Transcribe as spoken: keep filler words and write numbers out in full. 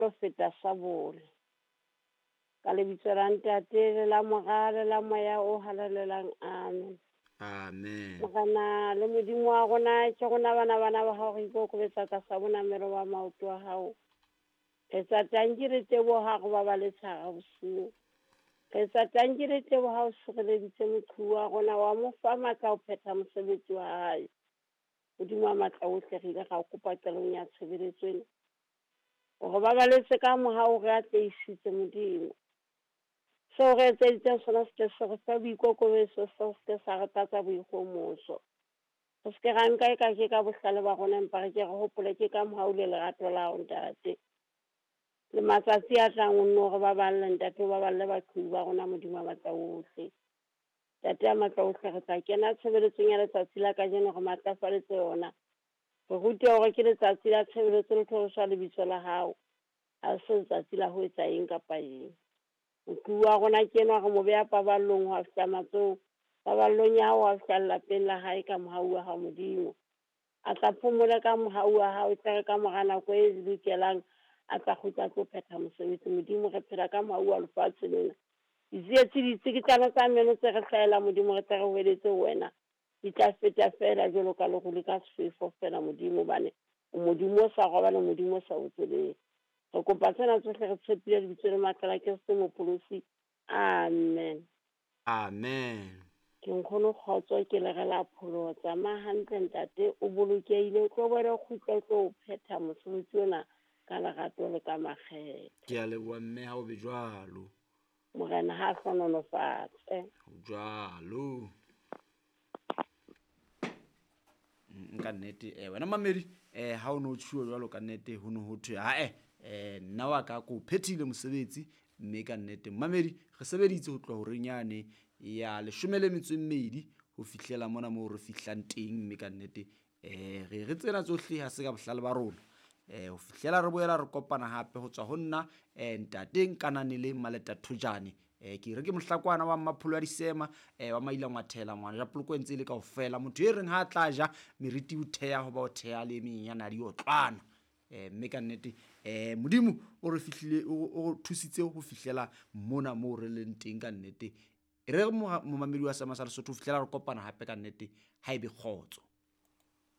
Ho feta sabole. Ka lebitso la Ntate le la Mora le la Moya o Halalelang, amen. Amen. Morena le Modimo wa rona, ke rona bana bana ba hao re ikokobetsa tlasa bonamelo ba maoto a hao. Re tsa tanki re teboha re ba ba le tshara bosiu. Re tsa tanki re teboha o sireleditse moqhubu wa rona wa mo fa matla ho phetha mosebetsi wa hae. Modimo wa matla ohle re ile ra kopa qalong ya tshebeletso ena. Hore ba baletse ka mohau re atlehisitse Modimo. Seo re etseditseng sona se ke se re fa boikokobetso, seo se ke sa re tlatsa boikgomoso. Re se ke ra nka eka ke ka bohlale ba rona, empa re ke re hopole ke ka mohau le lerato la hao Ntate. Le matsatsi a tlang o nno re baballe Ntate, o baballe baqhubu ba rona Modimo wa matla ohle. Ntate ya matla ohle, re tla kena tshebeletsong ya letsatsi la kajeno re matlafaletse yona. Re rute hore ke letsatsi la tshebeletso le thoriswa lebitso la hao. Ha se letsatsi la ho etsa eng kapa eng. Moqhubu wa rona ke enwa re mo beha paballong ho a fihla matsohong, paballong ya hao ho a fihla lelapeng la hae ka mohau wa hao Modimo. A tla phomola ka mohau wa hao, e tla re ka mora nako e lokelang a tla kgutla a tlo phetha mosebetsi. Modimo re phela ka mohau wa lefatshe lena. Ditsietsi ditsikitlano tsa meno tse re hlahela Modimo re tle re hweletse ho wena. Di tla feta feela jwalo ka lerole ka sefefo feela Modimo, hobane o Modimo o sa robale, Modimo o sa otseleng. Re kopa tsena tsohle re tshepile lebitso le matla la Kreste Mopholosi. Amen. Amen. Ke nkgono kgotso ke le re la pholoho. Tsamaya hantle ntate, o bolokehile, o tlo boela o kgutle o tlo phetha mosebetsi ona ka lerato le ka makgethe. Ke a leboha mme, ha o be jwalo. Morena ha hlohonolofatse. Jwalo. Nka nnete eh wena mamedi eh ha o no tjhuo jwalo ka nnete ho no ho thwe ha eh eh nna wa ka ko phethile mosebetsi mme ka nnete mamedi re sebeditse ho tloha horeng yane ya leshome le metso e mmedi ho fihlela mona moo re fihlang teng mme ka nnete eh re re tsena tsohle ha se ka bohlale ba rona eh ho fihlela re boela re kopana hape ho tswa ho nna eh ntate Nkananele Maleta Thojane eh ke re ke mohlakwana wa Mmapholo ya Disema eh wa Maila Ngwathela ngwana ja poloko ntse le kaofela motho e reng ha tla ja meriti o theha ho ba o theha le menyenyana di otlwana eh mme ka nnete eh Modimo o re fihlile o thusitse ho fihlela mona moo re leng teng ka nnete e re momamedi wa Seema sa Lesotho ho fihlela re kopana hape ka nnete ha ebe kgotso.